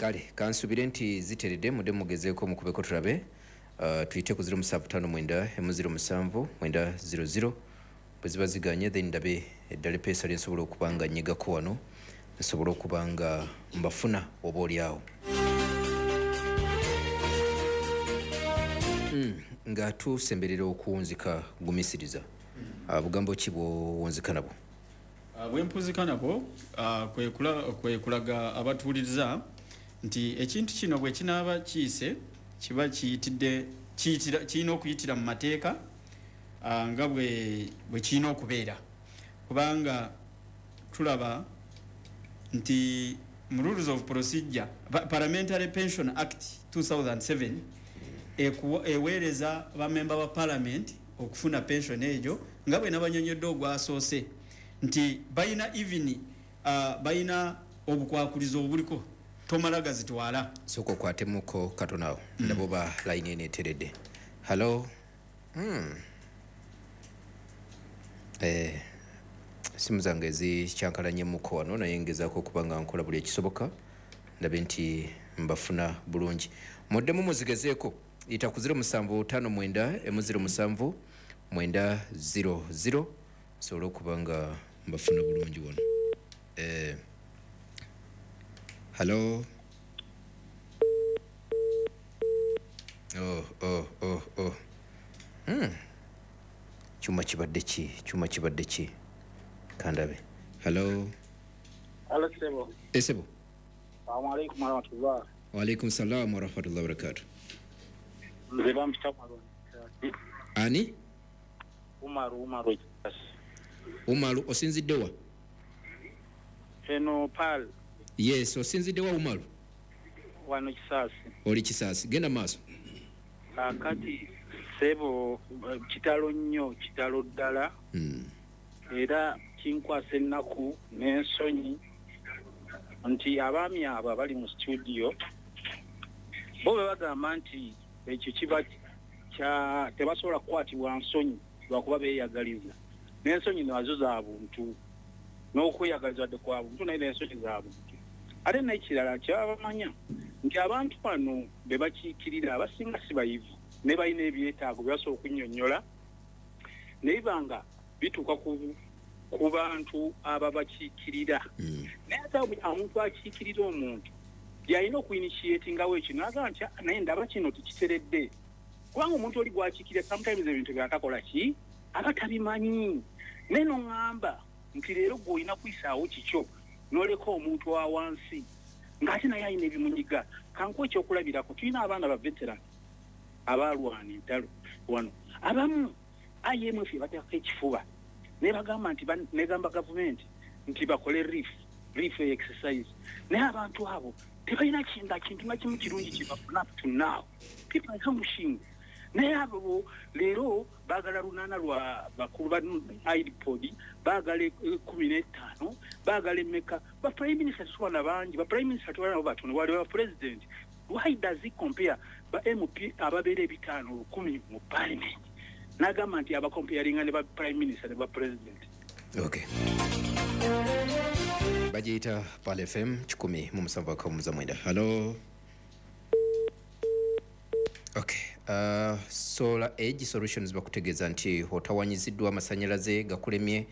Kale kansubire nti ziteredde, mudde mugezeeko mukubeko tulabe. Tuyite ku 0759 07 900. Bwe ziba ziganye, then ndabe eddala epeesa lyensobola okuba nga nnyigako wano, nsobole okuba nga mbafuna oba oli awo. Nga tusemberera okuwunzika, gumisiriza, bugambo ki bwowunzika nabwo? Bwempuzika nabwo kwe kulaga abatuwuliriza nti ekintu kino bwe kinaaba kiyise, kiba kiyitidde, kirina okuyitira mu mateeka nga bwe kirina okubeera, kubanga tulaba nti mu rules of procedure, Parliamentary Pension Act 2007 eweereza bamemba ba parliament okufuna pension egyo, nga bwe nabanyonyodde ogwasoose nti balina even balina obukwakulizo obuliko, tomala gazitwala. Sooka okwatemuko katono awo, ndaba oba layini eno eteredde. Hallo. Simu zange zikyankalanyemuko wano, naye ngezaako okuba nga nkola buli ekisoboka ndabe nti mbafuna bulungi. Muddemu muzigezeeko, yita ku 0759 07 900, nsobole okuba nga mbafuna bulungi wano. Hallo. Oh. Kyuma kibadde ki? Kyuma kibadde ki? Kandabe. Hallo. Halo, sebo. Esebo. Salamu alaikum warahmatullah. Waalaikum salam warahmatullahi wabarakatuh. Nze bampita Umaru. Ani? Umaru, Umaru Ekisasi. Umaru, osinzidde wa? Eno Pal. Yes, osinzidde wa, Umaru? Wano Kisaasi. Oli Kisaasi, genda maaso. Kaakati sebo, kitalo nnyo, kitalo ddala. Era kinkwasa ennaku n'ensonyi nti abaami abo abali mu studio bo bwe bagamba nti ekyo kiba kya tebasobola kukwatibwa nsonyi lwakuba beeyagaliza, n'ensonyi nazo za buntu, n'okweyagaliza wadde kwa buntu, naye n'ensonyi za buntu. Ate n'ekirala kyebaba bamanya nti abantu bano be bakiikirira abasinga si bayivu, ne balina ebyetaago bye basobola okunnyonnyola, naye banga bituuka ku bantu ababakiikirira. Naye ate omuntu akiikirira omuntu yalina okuinitiatingawo ekyo nagamba nti, "Ah, naye ndaba kino tekiteredde," kubanga omuntu oli gwakiikirira sometimes ebintu byatakola ki aba tabimanyi. Naye noŋŋamba nti leero gwe olina kuyisaawo kikyo n'oleka omuntu wa wansi ng'ate naye alina ebimunyiga. Kankuwa ekyokulabirako: tulina abaana ba veteran abaalwana entalo wano, abamu IMF ebateekako ekifuba nebagamba nti negamba gavumenti nti bakole relief exercise, naye abantu abo tebalina kinga kintu na kimu kirungi kyebafuna. Up to now people are languishing, naye abo leero baagala lunaana lwa bakulu ba IPOD, baagala 15, baagala emeka. Ba prime minister tetubana bangi, ba prime minister tubana nabo batono, wali ba president. Why does he compare ba MP ababeera 500 1,000 mu parliament, n'agamba nti abacomparinga ne ba prime minister ne ba president? Okay, bagiyita Pal FM 107.9. Hallo. Okay, Solar Age Solutions bakutegeeza nti otawanyiziddwa amasanyalaze, gakulemye,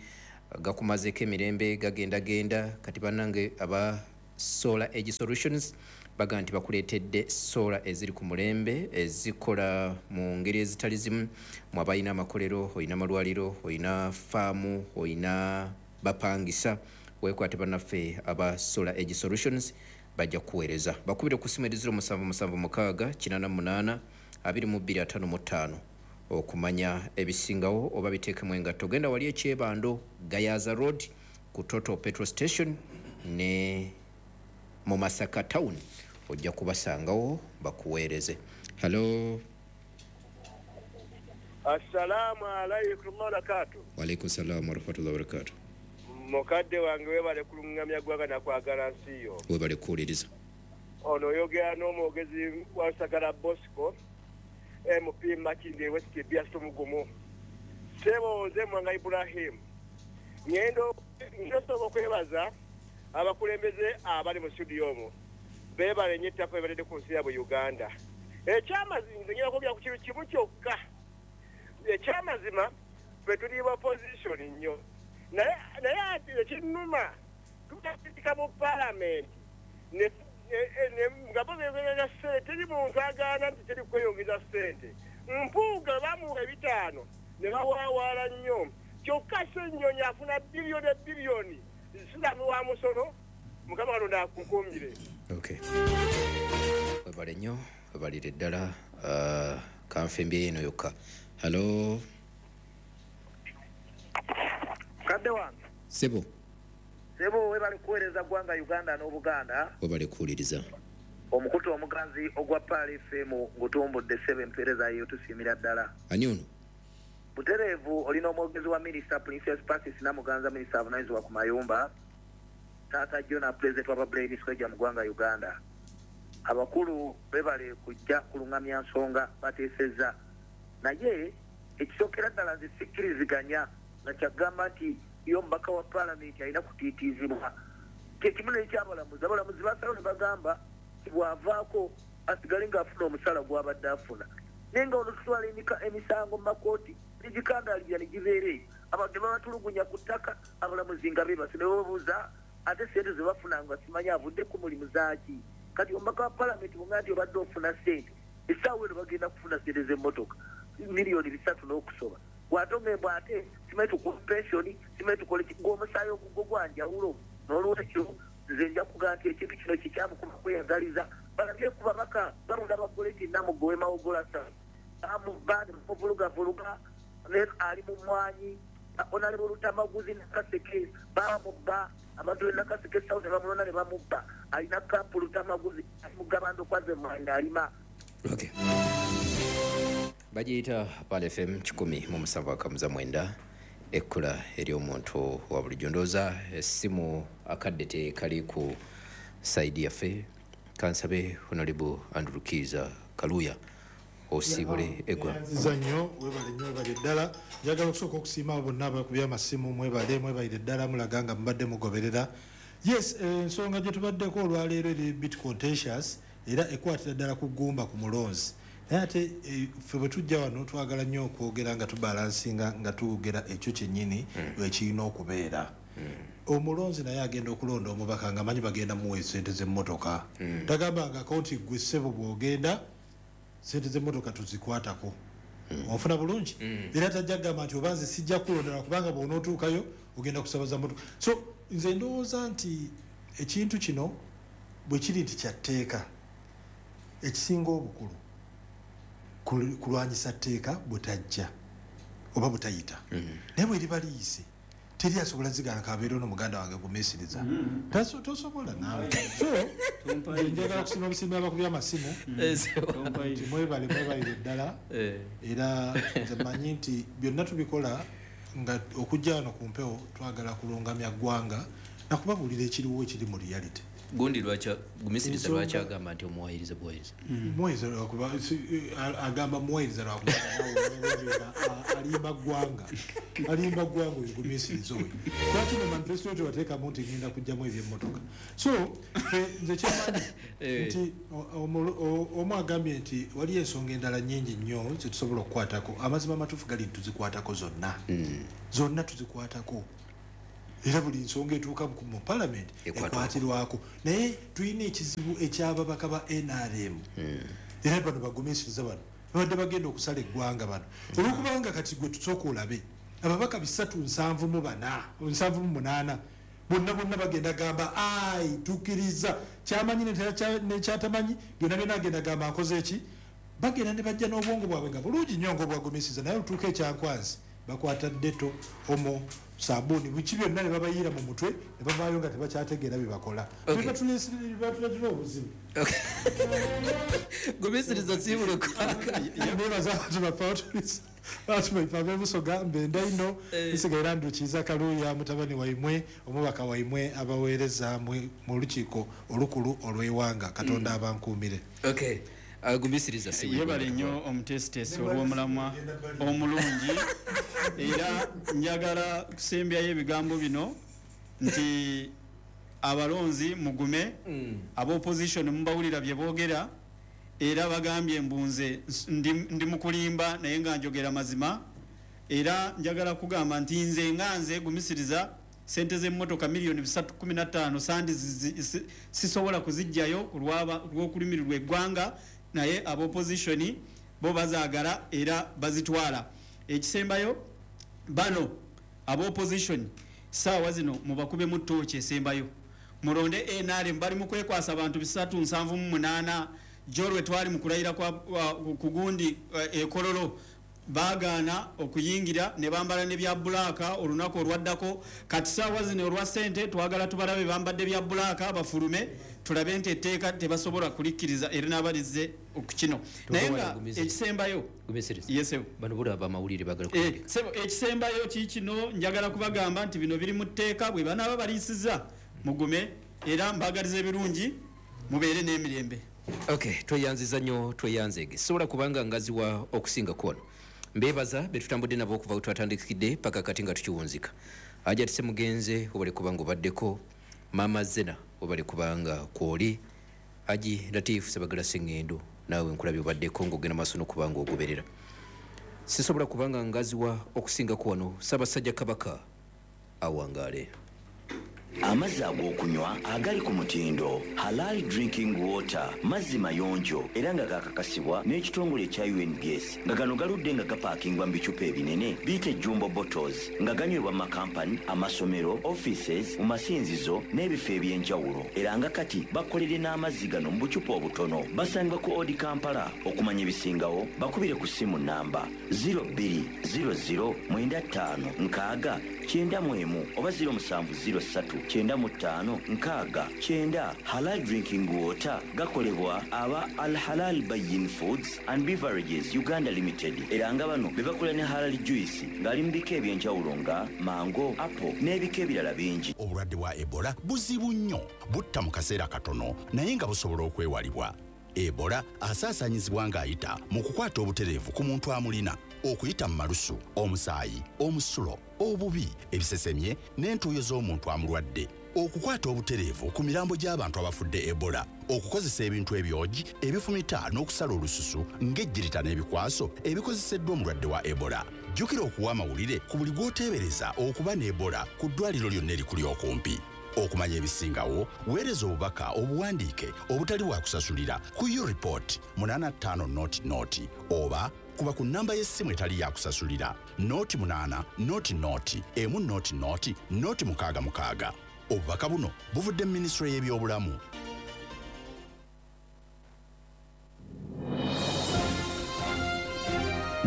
gakumazeeko emirembe, gagendagenda. Kati bannange aba Solar Age Solutions baga nti bakuleetedde solar eziri ku mulembe, ezikola mu ngeri ezitali zimu. Mu abalina amakolero, olina amalwaliro, olina faamu, olina bapangisa, weekwate bannaffe aba Solar Age Solutions, bajja kukuweereza. Bakubire ku simu eri 0776 88 22 55 okumanya ebisingawo oba biteekemu engatto. Genda wali ekyebando, Gayaza Road, ku Total petrol station ne mu Masaka Town, ojja kubasangawo bakuweereze. Hallo. Assalamu alaikum wabarakatu. Waalaikum salamu warahmatullahi wabarakatu. Mukadde wange, webale kuluŋŋamya ggwanga nakwagala nsi yo. Webale kuwuliriza. Ono oyogera n'omwogezi wa Sagala Bosco, MP Makindye West Byasumugumu. Ssebo, nze Mwanga Ibrahim. Ngendo nsobola okwebaza abakulembeze abali mu studio omwo. Beebale nnyo ettaka ebaledde ku nsi yaabwe Uganda. Ekyamazima nze ngenda kwogera ku kintu kimu kyokka. Ekyamazima ffe tuli ba opposition nnyo. Naye ate ekinnuma tutasindika mu paalamenti nga bo beeyongeza ssente, teri muntu agaana nti teri kweyongeza ssente. Mpuuga bamuwa 5 ne bawaawaala nnyo. Kyokka Ssennyonyi afuna biliyoni biliyoni siramu wa musolo. Mukama Katonda akukuumire. Okay. Webale nnyo, webalire ddala. Kanfe eno yokka. Hello. Kadde wange. Sebo. Sebo webale kuweereza ggwanga Uganda n'Obuganda. Webale kuwuliriza. Omukutu omuganzi ogwa Pearl FM ngutumbudde ssebo, empeereza yo tusiimira ddala. Ani ono? Butereevu olina omwogezi wa Minisita Princess Pacis Namuganza, minisita avunaanyizibwa ku mayumba, Taata Jona, Pulezidenti wa Brain Square mu ggwanga Uganda. Abakulu bebale kujja kulungamya nsonga bateesezza, naye ekisookera ddala nze sikkiriziganya nga kyagamba nti yo omubaka wa paalamenti alina kutiitiizibwa. Kyekimu n'ekyabalamuzi, abalamuzi basalawo ne bagamba nti bw'avaako asigale ng'afuna omusala gw'abadde afuna, naye nga ono tutwala emisango mu makooti negikandaalirira ne gibeera eyo, abantu ne babatulugunya ku ttaka, abalamuzi nga beebase ne bababuuza ate ssente ze bafuna nga simanyi avudde ku mulimu zaaki. Kati omubaka wa paalamenti bw'oŋŋamba nti obadde ofuna ssente, essaawa eno bagenda kufuna ssente z'emmotoka 3 million n'okusoba, bw'ate ate simanyi tukuwa pensioni, simanyi tukole ki, ng'omusaayi ogugwo gwa njawulo. N'olwekyo nze nja kugamba nti ekintu kino kikyamu kuba kweyagaliza. Balabye ku babaka balonda bagoleti Namugowe Mawogolasa, bamubba ne bamuvulugavuluga, ali mu mmwanyi, Honorable Lutamaguzi Nakaseke bamubba, abantu b'e Nakaseke South ne bamulonda ne bamubba, alina kampu Lutamaguzi ali mu Gabando kwaze mmwanyi alima. Okay. Bagiyita Pearl FM 107.9, ekkula ery'omuntu wa bulijjo. Ndowooza essimu akadde tekali ku sayidi yaffe. Kansabe Honorable Andrew Kiiza Kaluya osiibule eggwa. Nziza nnyo, webale nnyo, webale ddala. Njagala okusooka okusiima abo bonna abakubye amasimu, mwebale, mwebalire ddala, mulaga nga mubadde mugoberera. Yes, ensonga gye tubaddeko olwaleero eri bit contentious, era ekwatira ddala ku ggumba ku mulonzi. Naye ate ffe bwe tujja wano twagala nnyo okwogera nga tubalansinga, nga twogera ekyo kyennyini ekirina okubeera. Omulonzi naye agenda okulonda omubaka nga manyi bagenda muwa essente z'emmotoka. Tagambangako nti ggwe ssebo bw'ogenda sente z'emmotoka tuzikwatako. Onfuna bulungi? Era tajja kugamba nti oba nze sijja kulonda kubanga bw'onootuukayo ogenda kusaba za mmotoka. So nze ndowooza nti ekintu kino bwe kiri nti kya tteeka, ekisinga obukulu kulwanyisa tteeka butajja oba butayita. Naye bwe liba liyise teri asobola zigaana kabeera ono muganda wange gumiisiriza. Tosobola naawe. So njagala kusiima obusiimi abakubye amasimu nti mwebale, mwebalire ddala. Era nze mmanyi nti byonna tubikola nga okujja wano ku mpewo twagala kulungamya ggwanga nakubabuulira ekiriwo ekiri mu reality. Gundi gumisiriza lwaki agamba nti omuwayiriza buwayiriza? Muwayiriza lwakuba agamba muwayiriza lwakuba alimba ggwanga, alimba ggwanga oyo gumisiriza oyo. Lwaki mu manifesto tewateekamu nti ngenda kuggyamu ebyemmotoka? So nze kyemmanyi nti omu agambye nti waliyo ensonga endala nnyingi nnyo ze tusobola okukwatako. Amazima amatuufu gali nti tuzikwatako zonna, zonna tuzikwatako. Era buli nsonga etuuka mu paalamenti ekwatirwako. Naye tulina ekizibu eky'ababaka ba NRM. Era bano bagumiisiriza bano babadde bagenda okusala eggwanga bano, olwokubanga kati gwe tusooka olabe ababaka 374 78 bonna bonna bagenda gamba ai tukkiriza kyamanyi nekyatamanyi byonna byonna agenda gamba nkoze eki. Bagenda ne bajja n'obwongo bwabwe nga bulungi nnyo ng'obwagumiisiriza, naye olutuuka ekyankwanzi bakwata deto, omo, sabuni, biki byonna ne babayiira mu mutwe ne bavaayo nga tebakyategeera bye bakola. Batuleetera obuzibu. Gumisiriza siibule kwaka. Nebaza abantu baffe abantu baife ab'Ebusoga mbenda ino nsigaira Andrew Kiiza Kaluya mutabani waimwe omubaka waimwe abaweereza mu lukiiko olukulu olw'eiwanga. Katonda abankuumire. Okay. Gumisiriza siibule. Yebale nnyo omuteesiteesi olw'omulamwa omulungi. Era njagala kusembyayo ebigambo bino nti Abalonzi mugume, aba opposition mubawulira bye boogera, era bagambye mbunze ndi mukulimba naye nga njogera mazima. Era njagala kugamba nti nze nga nze gumisiriza sente z'emmotoka miliyoni 315 sandi sisobola kuzijjayo olw'okulumirirwa eggwanga, naye aba opposition bo bazaagala era bazitwala. Ekisembayo, bano aba opposition saawa zino mubakubemu ttooki esembayo, mulonde NRM. Bali mu kwekwasa abantu 378 jolwe twali mu kulayira kwa kugundi ekololo baagaana okuyingira ne bambala ne bya bulaaka olunaku olwaddako. Kati saawa zino olwa ssente twagala tubalabe bambadde bya bulaaka bafulume, tulabe nti etteeka tebasobola kulikkiriza era n'abalizze okukino. Naye nga ekisembayo, bano bulaba amawulire bagala sebo, ekisembayo kiikino njagala kubagamba nti bino biri mu tteeka, bwe banaaba baliisizza mugume, era mbagaliza ebirungi, mubeere n'emirembe. Okay, tweyanziza nnyo, tweyanzeege. Sobola kubanga ngaziwa okusinga kuwano. Mbebaza betutambudde nabo okuva we twatandikidde paka kati nga tukiwunzika. Ajja Mugenze obale kubanga obaddeko, Mama Zena obale kubanga kwoli, Haji Latif Sebagala Sengendo naawe nkulabye obaddeko ng'ogenda maaso n'okubanga ogoberera. Sisobola kubanga ngaziwa okusinga kuwano. Ssaabasajja Kabaka awangaale. Amazzi ag'okunywa agali ku mutindo Halal Drinking Water, mazzi mayonjo era nga gakakasibwa n'ekitongole ekya UNBS, nga gano galudde nga gapaakingwa mu bicupa ebinene biyite jumbo bottles, nga ganywebwa mu makampani, amasomero, offices, mu masinzizo n'ebifo eby'enjawulo. Era nga kati bakolere n'amazzi gano mu bucupa obutono. Basangibwa ku Odi Kampala. Okumanya ebisingawo bakubire ku ssimu namba 0200 95 6 91 oba 0703 95 6 9. Halal Drinking Water gakolebwa aba Al Halal Bayin Foods and Beverages Uganda Limited, era nga bano be bakola ne halal juice ng'ali mu bika eby'enjawulo nga mango, apple n'ebika ebirala bingi. Obulwadde bwa Ebola buzibu nnyo, butta mu kaseera katono naye nga busobola okwewalibwa. Ebola asaasaanyizibwa ng'ayita mu kukwata obutereevu ku muntu amulina, okuyita mu malusu, omusaayi, omusulo, obubi, ebisesemye n'entuuyo z'omuntu amulwadde, okukwata obutereevu ku mirambo gy'abantu abafudde Ebola, okukozesa ebintu ebyogi ebifumita n'okusala olususu ng'ejjirita n'ebikwaso ebikozeseddwa omulwadde wa Ebola. Jjukira okuwa amawulire ku buli gw'oteebereza okuba ne Ebola ku ddwaliro lyonna erikuli okumpi. Okumanya ebisingawo weereza obubaka obuwandiike obutali bwa kusasulira ku ureport 85 00 oba kuba ku namba y'essimu etali ya kusasulira 08 00 1 00 066. Obubaka buno buvudde mu minisitule y'ebyobulamu.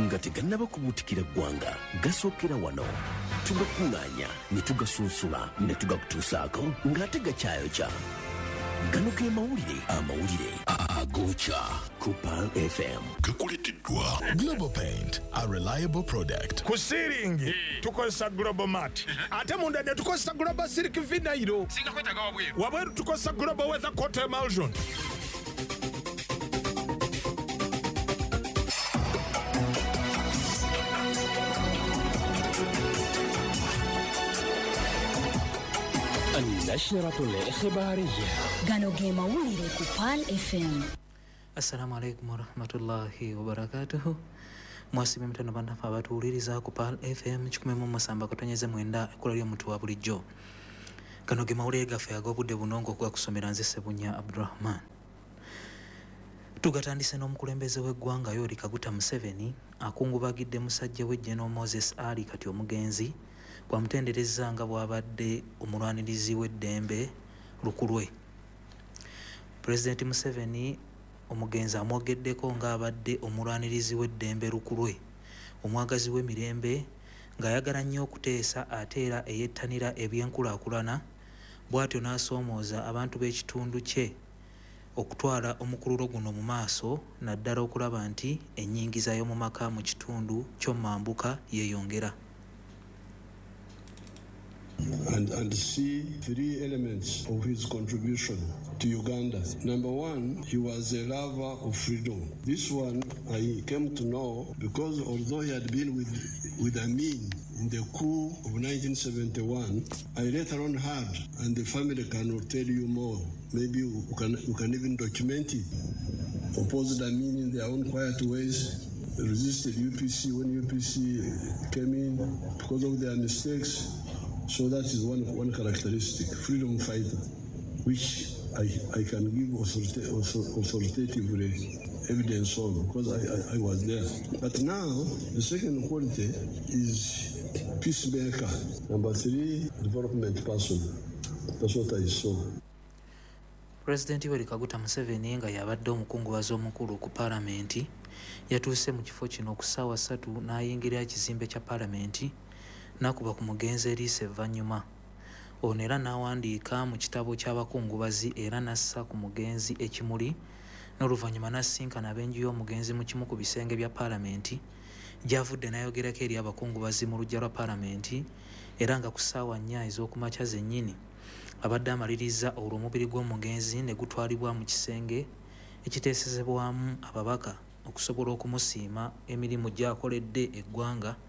Nga tegannaba kubuutikira ggwanga, gasookera wano. Tugakuŋŋaanya ne tugasunsula ne tugakutuusaako ng'ate gakyayokya. Gano ge mawulire, amawulire agokya ku Pearl FM. Gakuleeteddwa Global Paint, a reliable product. Ku siiringi tukozesa Global Mat, ate munda ne tukozesa Global Silk Vinyl. Wabweru tukozesa Global Weather Coat Emulsion. النشرة الإخبارية. Gano ge mawulire ku Pearl FM. Assalamu alaikum warahmatullahi wabarakatuhu. Mwasibe mutano bannaffe abatuwuliriza ku Pearl FM 107.9, ekkula ly'omuntu wa bulijjo. Gano ge mawulire gaffe ag'obudde buno ng'okugakusomera nze Ssebunya Abdurahman. Tugatandise n'omukulembeze w'eggwanga Yoweri Kaguta Museveni akungubagidde musajja we General Moses Ali kati omugenzi, bwamutendereza nga bw'abadde omulwanirizi w'eddembe lukulwe. Pulezidenti Museveni omugenzi amwogeddeko ng'abadde omulwanirizi w'eddembe lukulwe, omwagazi w'emirembe, ng'ayagala nnyo okuteesa ate era eyettanira ebyenkulaakulana, bw'atyo n'asoomooza abantu b'ekitundu kye okutwala omukululo guno mu maaso, naddala okulaba nti ennyingiza y'omu maka mu kitundu ky'omambuka yeeyongera. And see three elements of his contribution to Uganda. Number one, he was a lover of freedom. This one I came to know because although he had been with Amin in the coup of 1971. I later on heard, and the family cannot tell you more, maybe you can even document it, opposed Amin in their own quiet ways, resisted UPC when UPC came in because of their mistakes. So that is one characteristic, freedom fighter, which I can give authoritatively evidence on, because I was there. But now, the second quality is peacemaker. Number 3, development person. That's what I saw. President Yoweri Kaguta Museveni nga yabadde omukungubazi omukulu ku paalamenti yatuuse mu kifo kino ku ssaawa 3 n'ayingira ekizimbe kya paalamenti n'akuba ku mugenzi eriiso evvannyuma. Ono era n'awandiika mu kitabo ky'abakungubazi era n'assa ku mugenzi ekimuli n'oluvannyuma n'asisinkana ab'enju y'omugenzi mu kimu ku bisenge bya paalamenti gy'avudde n'ayogerako eri abakungubazi mu luggya lwa paalamenti era nga ku ssaawa 4 ez'okumakya zennyini abadde amaliriza olwo omubiri gw'omugenzi ne gutwalibwa mu kisenge ekiteesezebwamu ababaka okusobola okumusiima emirimu gy'akoledde eggwanga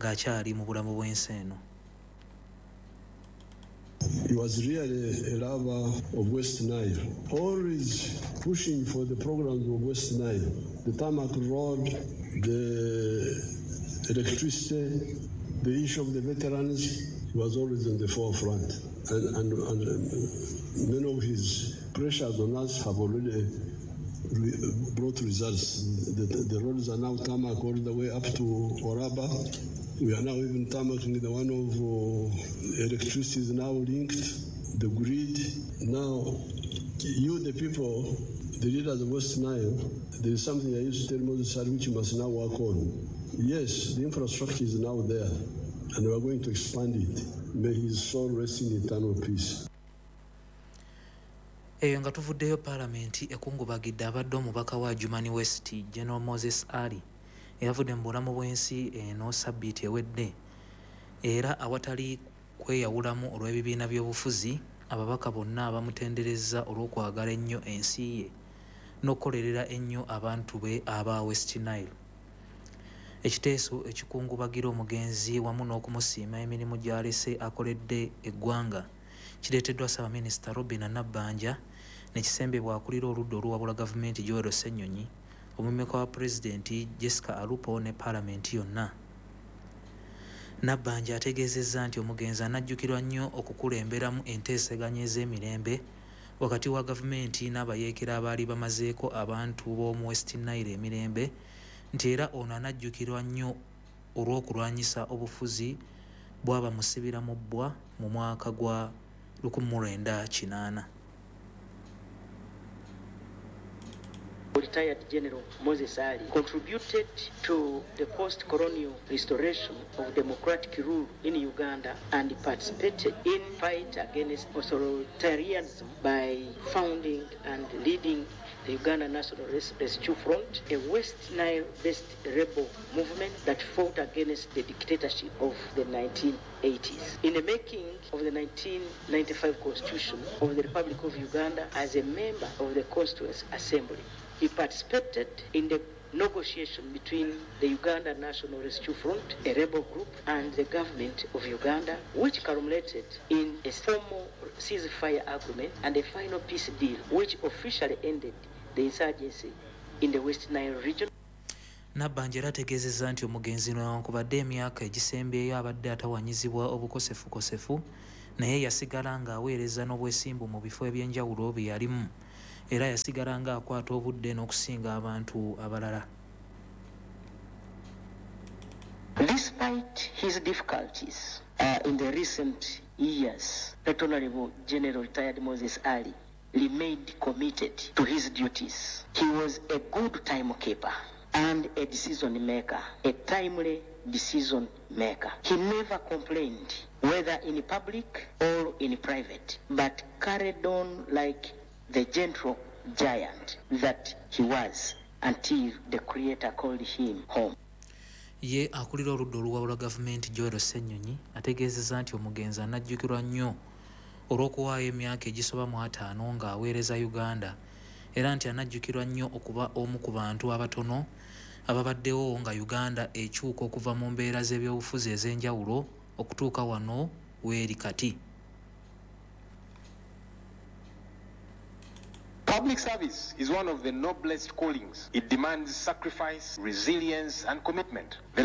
ng'akyali mu bulamu bw'ensi eno. He was really a lover of West Nile, always pushing for the programs of West Nile, the tarmac road, the electricity, the issue of the veterans. He was always in the forefront. And many of his pressures on us have already brought results. The roads are now tarmac all the way up to Oraba. We are now even tarmacking the one of electricity is now linked, the grid. Now, you, the people, the leaders of West Nile, there is something I used to tell Moses Ali, which you must now work on. Yes, the infrastructure is now there, and we are going to expand it. May his soul rest in eternal peace. Eyo nga tuvuddeyo, paalamenti ekungubagidde abadde omubaka wa Adjumani West General Moses Ali eyavudde mu bulamu bw'ensi eno sabbiiti ewedde, era awatali kweyawulamu olw'ebibiina by'obufuzi ababaka bonna bamutenderezza olw'okwagala ennyo ensi ye n'okukolerera ennyo abantu be aba West Nile. Ekiteeso ekikungubagira omugenzi wamu n'okumusiima emirimu gy'alese akoledde eggwanga kireeteddwa Ssaabaminisita Robinah Nabbanja ne kisembebwa akulira oludda oluwabula gavumenti Joel Ssenyonyi, omumyuka wa pulezidenti Jessica Alupo ne paalamenti yonna. Nabbanja ategeezezza nti omugenzi anajjukirwa nnyo okukulemberamu enteeseganya ez'emirembe wakati wa gavumenti n'abayeekera abaali bamazeeko abantu b'omu West Nile emirembe, nti era ono anajjukirwa nnyo olw'okulwanyisa obufuzi bw'abamusibira mu bbwa mu mwaka gwa 1980. Retired General Moses Ali contributed to the post-colonial restoration of democratic rule in Uganda and participated in fight against authoritarianism by founding and leading the Uganda National Rescue Front, a West Nile-based rebel movement that fought against the dictatorship of the 1980s. In the making of the 1995 Constitution of the Republic of Uganda as a member of the Constituent Assembly, he participated in the negotiation between the Uganda National Rescue Front, a rebel group, and the government of Uganda, which culminated in a formal ceasefire agreement and a final peace deal, which officially ended the insurgency in the West Nile region. Nabbanja era ategeezezza nti omugenzi newankubadde emyaka egisembyeyo abadde atawanyizibwa obukosefukosefu, naye yasigala ng'aweereza n'obwesimbu mu bifo ebyenjawulo bye yalimu, era yasigala ng'akwata obudde n'okusinga abantu abalala. Despite his difficulties in the recent years, Right Honorable General Retired Moses Ali remained committed to his duties. He was a good timekeeper and a decision maker, a timely decision maker. He never complained, whether in public or in private, but carried on like the gentle giant that he was until the Creator called him home. Ye akulira oludda oluwabula gavumenti Joel Ssenyonyi ategeezezza nti omugenzi anajjukirwa nnyo olw'okuwaayo emyaka egisoba mu 50 ng'aweereza Uganda, era nti anajjukirwa nnyo okuba omu ku bantu abatono Ababaddewo nga Uganda ekyuka okuva mu mbeera z'ebyobufuzi ez'enjawulo okutuuka wano weeri kati. Public service is one of the noblest callings. It demands sacrifice, resilience, and commitment. The